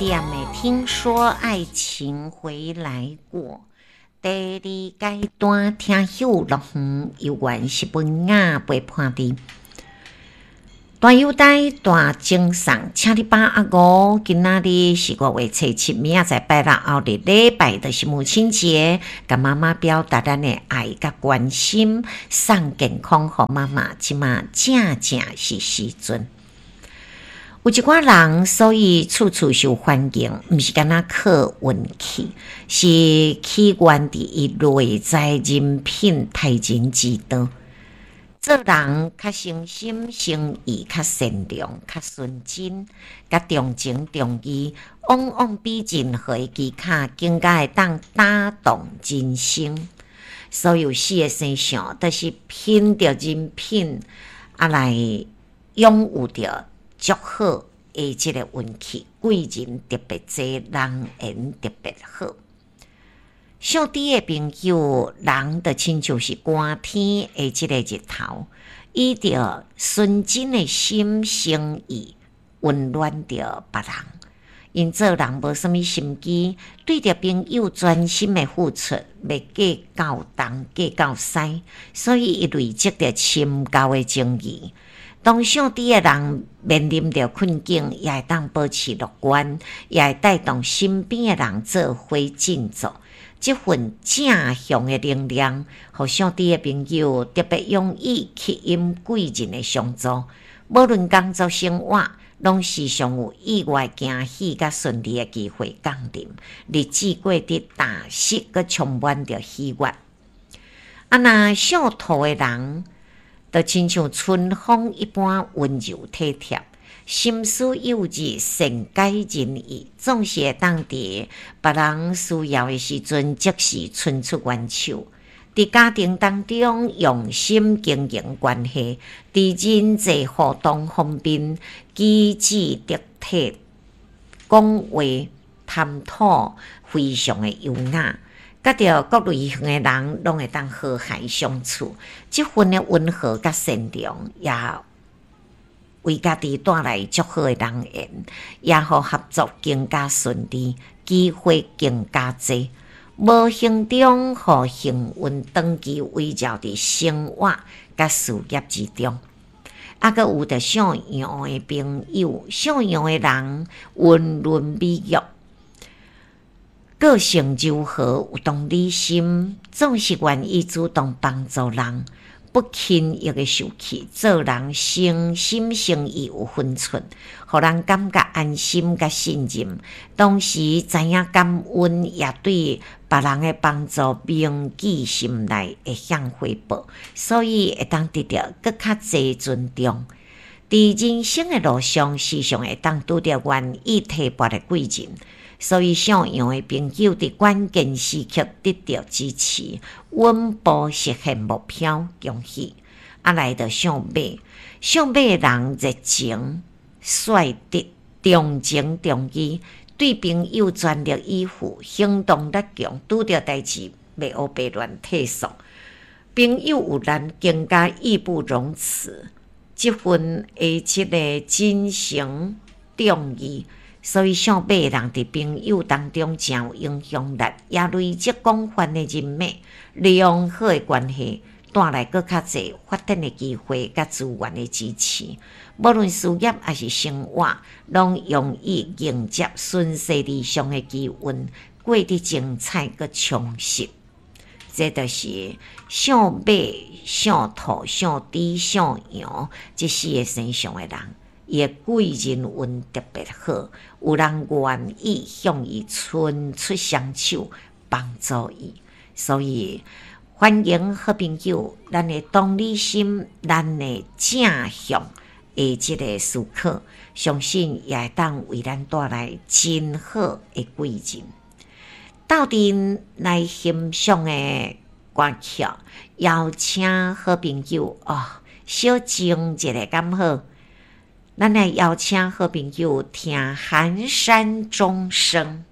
點的聽說愛情回來過，第二階段聽秀樂園猶原是文雅陪伴佇大友台大精送，請你把握五，今仔日是5月初7，明仔載拜六後日禮拜就是母親節，共媽媽表達咱的愛佮關心，送健康予媽媽，這馬正正是時陣。有一寡人，所以處處受歡迎，毋是干焦靠運氣，是起源佇伊內在人品待人之道。做人較誠心誠意，較善良，較純真，較重情重義，往往比任何的技巧更加會當打動人心。所有四个生肖，都是憑著人品啊來擁有著足好的這个運氣，貴人特別濟，人緣特別好。屬豬的朋友，人就親像是寒天的這个日頭，以著純真的心誠意溫暖著別人。𪜶做人無啥物心機，對著朋友專心的付出，袂計較東計較西，所以伊累積著深厚的情誼。當屬豬的人面臨著困境，也會當保持樂觀，也會帶動身邊的人做伙振作。這份正向的能量，予屬豬的朋友特別容易吸引貴人的相助。無論工作生活，攏時常有意外驚喜佮順利的機會降臨，日子過得踏實，閣充滿著喜悅。啊，若屬兔的人，就親像春風一般溫柔體貼，心思幼稚，善解人意，總是會當佇別人需要的時陣，即時伸出援手。佇家庭當中用心經營關係，佇人際互動方面，舉止得體，講話談吐非常的優雅。佮著各類型的人攏會當和諧相處，這份的溫和佮善良，也為家己帶來足好的人緣，也予合作更加順利，機會更加濟。無形中予幸運長期圍繞佇生活佮事業之中。啊，閣有著屬羊的朋友，屬羊的人溫潤美玉。個性柔和，有同理心，總是願意主動幫助人，不輕易的受氣，做人誠心誠意有分寸，予人感覺安心佮信任。同時知影感恩，也對別人的幫助銘記心內，會曉回報，所以會當得著閣較濟尊重。佇人生的路上，時常會當拄著願意提拔的貴人。所以，屬羊的朋友佇關鍵時刻得到支持，穩步實現目標，恭喜！啊，來著屬馬，屬馬的人熱情、率直、重情重義，對朋友全力以赴，行動力強，拄著代誌袂烏白亂退縮。朋友有難，更加義不容辭。這份的這个真誠重義。所以，屬馬的人佇朋友當中誠有影響力，也累積廣泛的人脈，良好的關係，帶來閣較濟發展的機會佮資源的支持。無論事業抑是生活，攏容易迎接順勢而上的機運，過得精彩閣充實。這就是屬馬、屬兔、屬豬、屬羊這四个生肖的人。伊的貴人運特別好，有人願意向伊伸出雙手幫助伊，所以歡迎好朋友，咱的同理心，咱的正向的這个思考，相信也會當為咱帶來真好的貴人。鬥陣來欣賞的歌曲，邀請好朋友哦，小靜一下敢好？咱來邀請好朋友聽《寒山鐘聲》。